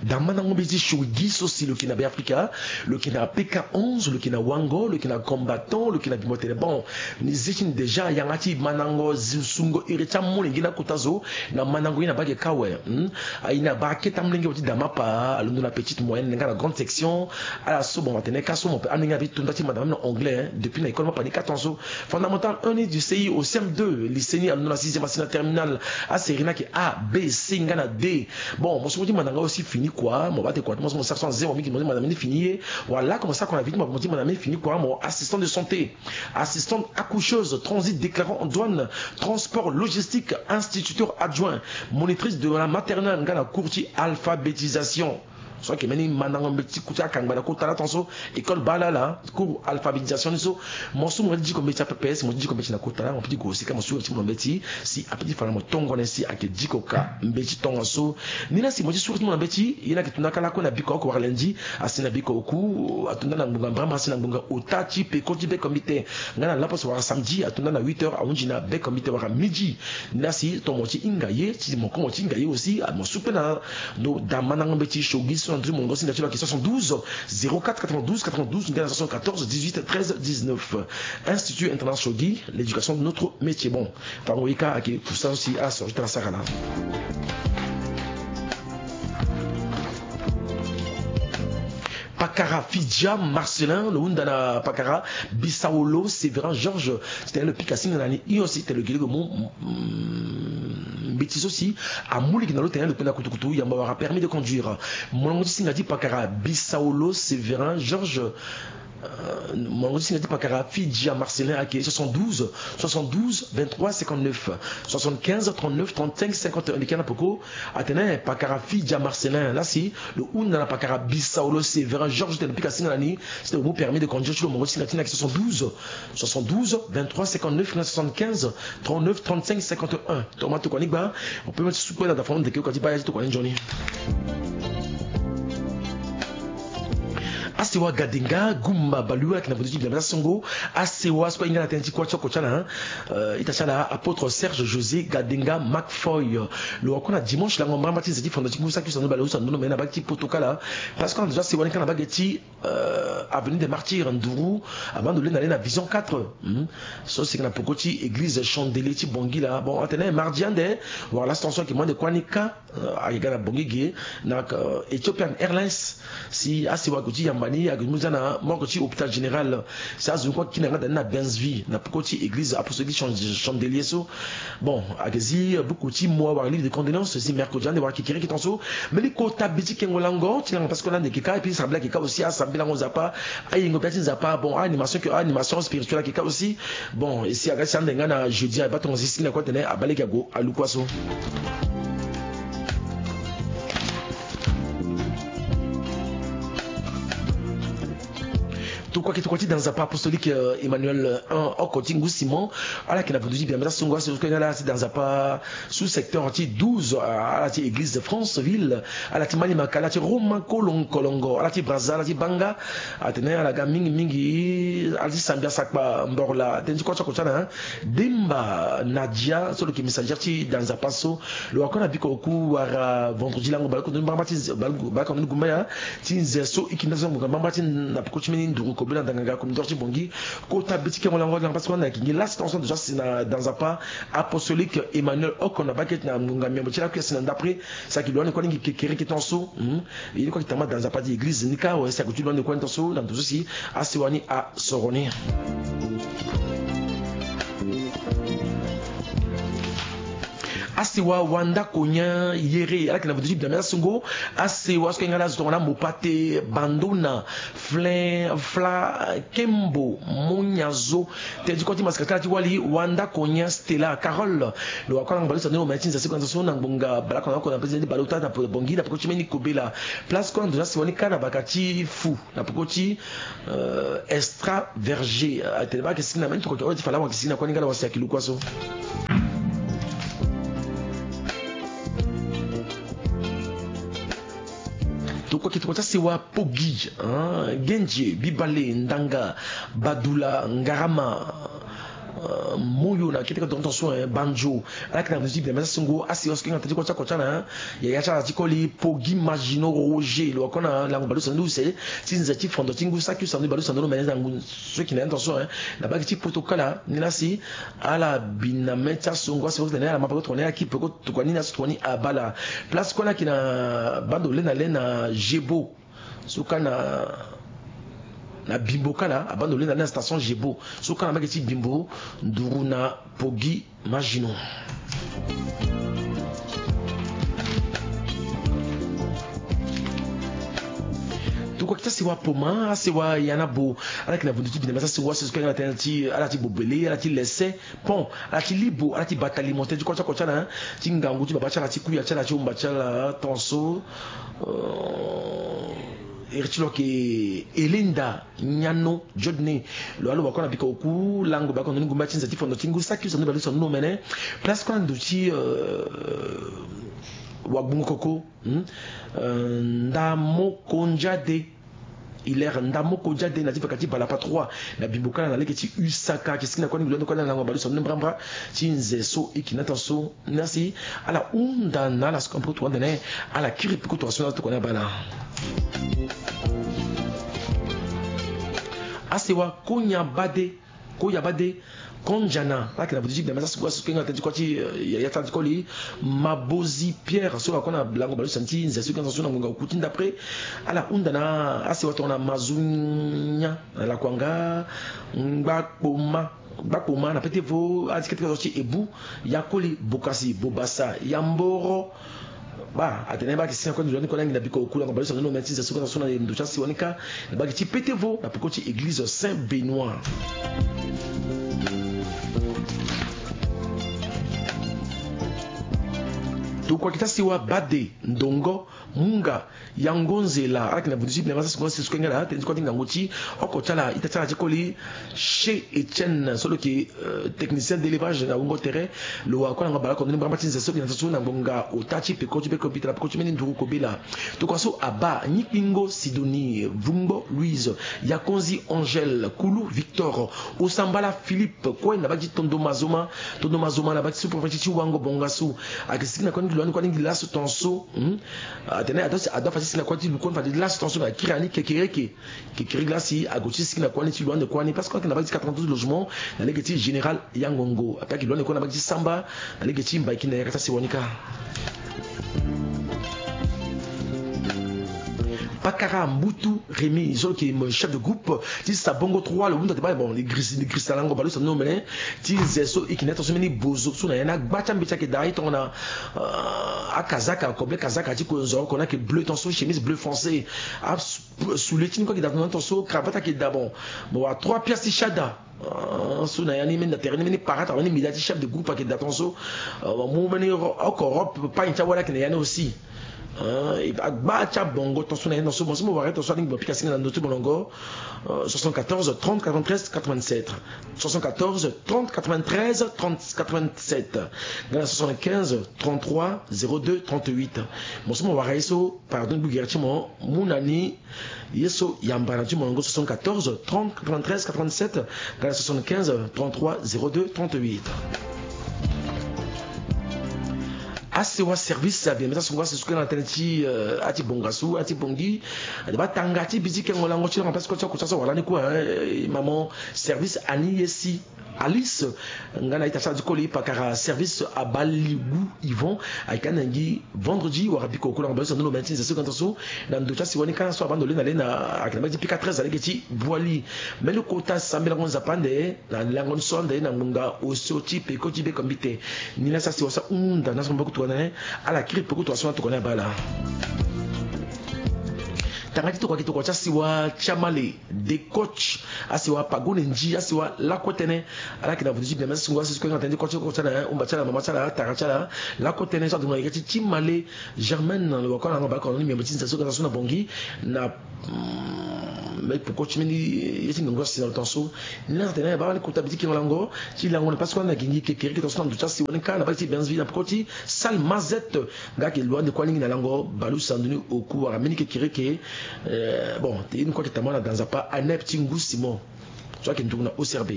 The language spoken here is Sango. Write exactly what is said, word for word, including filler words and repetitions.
Da mandango mbeti ti Shogi so si lo yeke na Beafrika, lo yeke na P K onze, lo yeke na Wango, lo yeke na Combattant, lo yeke na Bimbo Tene. Bon, ni zi ti ni déjà yanga ti mandango zi-, sungo iri ti amolenge na kota zo, na mandango ye na baa ge ka awe. Hmm? Aye na baa akete amolenge wa ti da mapa, alondo na petite moyenne nga na grande section. Ala so bon, atene ka so mo pe amolenge na bi to nda ti manda même na anglais, hein, depuis na école mapa ni quatre ans so. Fondamental un ni du C I au C M deux, lycée ni alondo na sixième, asi na terminale. Asérie ni ayeke A, B, C nga na D. Bon, mo so mo ti manda nga aussi fini quoi, mo baa te kua ti mo so mo sara so na zero mingi mo ti manda mbeni fini ye. Wala comme ça qu'on a vite mo ti manda mbeni fini quoi, mo assistant de santé, assistante accoucheuse, transit déclarant en douane, transport logistique, instituteur adjoint, monitrice de la maternelle nga na cours ti alphabétisation. So ayeke mbeni mandango mbeti ti kuta akangba na kota la tongaso, école baa la la, cours alphabétisation ni so. Mo so mo ti diko mbeti ape, si mo ti diko mbeti na kota la, mo peut ti gue aussi ka mo suru ti mo na mbeti, si ape ti fa na mo tongone si ayeke diko ka mbeti tongaso. Ni la si mo ti suru ti mo na mbeti, ye ni ayeke to nda ka lakue na biko oko wara lundi, asi na biko oku, ato nda na ngbonga mbrambra asi na ngbonga ota ti peko ti beko mbi te. Nga na lapo so wara samedi, ato nda na huit heures, ahunzi na beko mbi te wara midi. Ni la si to mo ti hinga ye, ti mo ko mo ti hinga ye aussi, ah, mo su pe na ndo da mandango mbeti Shogi so na ndö ti mongo si nda ti lo ayeke soixante-douze, zéro quatre, quatre-vingt-douze, quatre-vingt-douze, nga na soixante-quatorze, dix-huit, treize, dix-neuf. Institut Internat Shogi, l'éducation de notre métier. Bon, tango ye ka ayeke kusala so si asoro ti tara sara la. Pakara Fidia Marcelin, lo hunda na pakara Bisaolo Sévérin Georges, titene lo pika singa na ni hio si tene lo gi lege mu, mm, mbeti so si amu lege na lo tene lo kpenda kutukutu, yamba wara permis de conduire. Molongo ti singa ti pakara Bisaolo Sévérin Georges, euh, molongo ti singa ti pakara Fidia Marcelin ayeke soixante-douze, soixante-douze, vingt-trois, cinquante-neuf, soixante-quinze, trente-neuf, trente-cinq, cinquante et un. Leke na peko, atene pakara Fidia Marcelin la si lo hunda na pakara Bisaolo Sévérin Georges tene lo pika singa na ni, si tene lo mu permis de conduire ti lo, molongo ti singa ti ni ayeke soixante-douze, soixante-douze, vingt-trois, cinquante-neuf, soixante-quinze, trente-neuf, trente-cinq, cinquante et un. Tongana tokua ni gba, on peut même ti su kue na da fano ndeke oko ti baa ya ti tokua ni nzoni. Asewa Gadenga Gumba Balu ayeke na ndo ti biama ti asongo. Asewa so kue ahinga na tënë ti kuâ ti oko ti ala, hein. Euh, ita ti ala apôtre Serge José Gadenga Macfoy. Lo wara kue na dimanche lango mbrambra ti nze ti fondo ti ngu saki usando bale usando mene na bage ti poto kala. Parce que ando ti asewa ni ka na bage ti, euh, avenue des Martyrs, nduru, avant ndo lenda le na Vision quatre. Hmm. So si ayeke na peko ti église Chandelier ti Bangui la. Bon, atene mardi ande, wala station ayeke mo ande kuâ ni ka. Euh, ayeke ga na Bangui ge na, euh, Ethiopian Airlines. Si asewa ague ti yamba ni, ague ti mu za na morgue ti hôpital général. Si azo ni kue akina nga da ni na Bensville na peko ti église apostolique Chan-, Chandelier so. Bon, ayeke zi, euh, buku ti mo awara livre de condoléances si mercredi ande wara kekereke tongaso. Mbeni kota bi ti kengo lango ti langa parce que lande ayeke ka, et puis sambela ayeke ka aussi, asambela lango Nzapa, ayengo bia ti Nzapa. Bon, animation ke, animation spirituelle ayeke ka aussi. Bon, e si aga ti ande nga na jeudi, abaa tongaso si na kue atene abaa lege ague alu kua so. Tokua ke tokua ti da Nzapa apostolique, euh, Emmanuel, euh, un, oko ti ngu Simon. Ala yeke na vutu ti biama ti asongo, aso so kue nga ala ti da Nzapa sous secteur ti douze, euh, ala ti église de Franceville, ala ti Malimaka, ala ti Roma Kolon-, Kolongo, ala ti Brazza, ala ti Banga. Atene ala ga mingi mingi, ala ti Sambia, Sakpa, Mborla, tënë ti kuâ ti oko ti ala, hein. Demba Nadia so lo yeke messager ti da Nzapa so, lo wara kue na biko oku wara vendredi lango baleoko ndoni mbrambra ti nze, baleoko ndoni gumbaya ti nze so e yeke nda so ngbonga mbrambra ti na peko ti mbeni nduru kobela ndanga ga komidor ti Bangui. Kota bi ti kengo lango langa parce que wanda ayeke ngi la si tongaso ando ti asi na da Nzapa apostolique Emmanuel oko na bake ti na ngbonga miambo ti lakui asi na ndapre. Si ayeke lo ande kue alingbi kekereke tongaso. Hmm. Ye ni kue ayeke tama da Nzapa ti église ni ka awe si ayeke ti lo ande kue tongaso na ndo so si asewa ni asoro ni. Asewa Wanda Konya Yere, ala yeke na vutu ti biama ti asongo. Asewa so kue nga ala zo tongana Mopate, Bandona, Flin, Fla, Kembo, Monyazo. Tënë ti kua ti masika ti ala ti wali, Wanda Konya Stella Carole. Lo wara kue na ngbali ti sandoni omene ti nze seko na nze so na ngbonga baleoko na oko na mbeni ti baleota na Bangui na peko ti mbeni kobela. Place kue na ndo ti asewa ni ka na baka ti fu na peko ti, euh, Extra Verger. Euh, atene baa ayeke sigi na mbeni tokua ti fala awa ayeke sigi na kue ni nga na wasi ayeke lu kua so. Tokua ke tokua ti asewa Pogi, hein, Gendie, Bibale, Ndanga, Badula, Ngarama, Moyo na kete ka donto so, eh, Banjo. Ala yeke na musu ti bia mesa sungo, asi wasu kenga tënë ti kua ti akua ti ala, eh. Yaya ti ala ti koli Poggi Maginot Roger, lo wako na lango baleuse na ni use ti nze ti fondo ti ngu saki use na ni baleuse na ni lo mene na ngu so yeke na ya tonso, eh. Na bage ti poto kala ni lasi, ala bi na mê ti asungo, asi wasu tene ala ma peko tokua ni aki peko tokua ni na so tokua ni abala. Place kue ala yeke na bando le na le na Gébo. So ka na, na Bimbo kala, abando le na le na station Gébo. So ka na mbage ti Bimbo, nduru na Poggi Maginot. Tokua ki ti asewa Poma, asewa Yanabo. Ala yeke na vundu ti bina mesa asewa, asewa so ka ala tene ti, ala ti bobele, ala ti lese, pont, ala ti libo, ala ti bata limo tënë ti kua ti akua ti ala, ti ngangu ti baba ti ala, ti kuya ti ala, ti umba ti ala tonso. Euh, iri ti lo yeke Elenda Nyano Jodne. Lo wa lo wako na bika oku lango bako na ni ngumba ti nze ti fondo ti ngu saki use na ni baleuse na ni lo mene. Place kue na ndo ti, euh, wagbungo koko, hmm? Euh, Ndamoko Njade. Hilaire Ndamoko Njade na ti vaka ti Balapa trois na Bimbo kala na lege ti usaka, ayeke siki na kue ni lo ande kue na lango baleuse na ni mbrambra ti nze so e yeke na tonso. Merci. Ala hunda na ala so ka mpe kutu wande na ye, ala kiri mpe kutu wande so na tokua ni abala. Asewa Konya Bade, Koya Bade, Konjana, ala yeke na vundu ti bia mesa asungo, asungo kenga tënë ti kua ti, eh, ya, ya ti ala ti koli Mabozi Pierre, so wako na lango baleuse na ni ti nze so e yeke na tonso na ngonga oku ti ndapre. Ala hunda na asewa tongana Mazunya, na Lakuanga, Ngbakpoma, Gbakpoma na Petevo, ala ti kete ka so ti Ebu, ya koli Bokasi, Bobasa, ya Mboro. Ba, atene ba yeke siki na kue ni lo lani kue na nginda biko oku lango baleuse na ni lo mene ti nze so ka na so na ndo ti asewa ni ka, na mbage ti Petevo, na peko ti église Saint Benoît. Tokua ki ti asewa Bade, Ndongo, Munga, Yango Nzela, ala yeke na vundu ti bina mesa asungo, asungo kenga ala tënë ti kua ti ngangu ti oko ti ala, ita ti ala ti koli Chez Etienne, so lo yeke, euh, technicien d'élevage na wungo tere. Lo wa kue na ngangu baleoko na ni mbrambra ti nze so e yeke na tonso na ngonga ota ti peko ti beko bita na peko ti mbeni nduru kobela. Tokua so abaa, Nyikpingo Sidonie, Vungbo Louise, Yakonzi Angèle, Kulu Victor, Osambala Philippe, kue na mbage ti Tondo Mazoma, Tondo Mazoma na mbage ti sous-préfecture ti Wango Bongassou. Ayeke siki na kue ni lo lani kue ni laso tonso, hmm? Atene ado, ado afa ti siki na kue ti lo kue ni fade laso tonso na kiri ya ni kekereke. Kekereke la si ague ti siki na kua ni ti lo ande kua ni, parce que ayeke na mbage ti quatre-vingt-douze logements na lege ti Général Yangongo. Ape ayeke lo ande kua na mbage ti Samba na lege ti Mbaïkina, yaka ti asewa ni ka. Pakara Mbutu Rémy, so lo yeke chef de groupe ti Sabongo trois, lo hunda ti baa, bon, li girisa, li girisa lango baleuse na ni lo mene ti nze so e yeke na ya tonso mbeni bozo so na ya ni agba ti ambeti ayeke daa, e tongana, euh, akazaka, koble kazaka ti konzo oko ni ayeke bleu tonso, chemise bleu foncé. A Soulier ti ni kue ayeke daa tonso, cravate ayeke daa, bon. Mo wa trois pièces ti shada. Ah, so na ya ni mbeni na tere ni mbeni parade, mbeni médaille ti chef de groupe ayeke daa tonso. Ah, mo mu mbeni ro-, oko robe pagne ti awali ayeke na ya ni aussi. Ah, e, agba ti abongo tonso na ya ni tonso, mo so mo wara ye tonso alingbi mo pika singa na ndö ti molongo. Ah, soixante-quatorze trente quatre-vingt-treize quatre-vingt-sept. Soixante-quatorze trente quatre-vingt-treize trente quatre-vingt-sept. Nga na soixante-quinze trente-trois zéro deux trente-huit. Mo so mo wara ye so, pardon, gbu gere ti mo, mu na ni ye so yamba na ti molongo, soixante-quatorze trente quatre-vingt-treize quatre-vingt-sept, nga na soixante-quinze trente-trois zéro deux trente-huit. Asewa service abima mesa sungo, asewa so kue na tënë ti, euh, ati bongasu, ati bongi. Ade ba tanga ti bi ti kengo lango ti langa place kue ti oko ti aso wala ni kue, hein, maman service ani ye si. Alice, nga na ita ti ala ti koli pakara service abaligu Yvon, ayeke ande na ngi vendredi wala biko kula nga baleuse na ni lo mene ti nze so ga tonso na ndo ti asiwa ni ka na so abando le na le na ayeke na mbage ti pika treize na lege ti Boali. Mbeni kota sambelango nzapa ande na lango ni so ande na ngonga osio ti peko ti beko mbite. Ni la si asiwa so ahunda na so maboko tongana ni ala kiri peko tongana so na tokua ni abaa ala. Tanga ti tokua ki tokua ti asiwa ti amale. De coach, asiwa Pagone Nji, asiwa lakue tënë. Ala yeke na vutu ti bia mesa sungo, asi so kue nga tënë ti kua ti oko ti ala, umba ti ala, mama ti ala, tara ti ala. Lakue tënë so adonga yeke ti ti male Germaine, lo wa kue na nga baleoko na ni miombe ti nze so ga na so na Bongi na, mm, me poko ti mbeni ye ti ngongo asi na lo tonso. Ni la tene baa ni kota bi ti kengo lango ti lango na place kue na gigi kekereke tonso na ndo ti asiwa ni ka na baa ti Benzville na poko ti salle Mazette. Nga ayeke lo ande kue alingbi na lango baleuse na ndoni oku wala mbeni kekereke. Eh, bon, te ye ni kue ayeke tambula na da nzapa Anep ti Ngu Simon. So ayeke nduru na O C R B.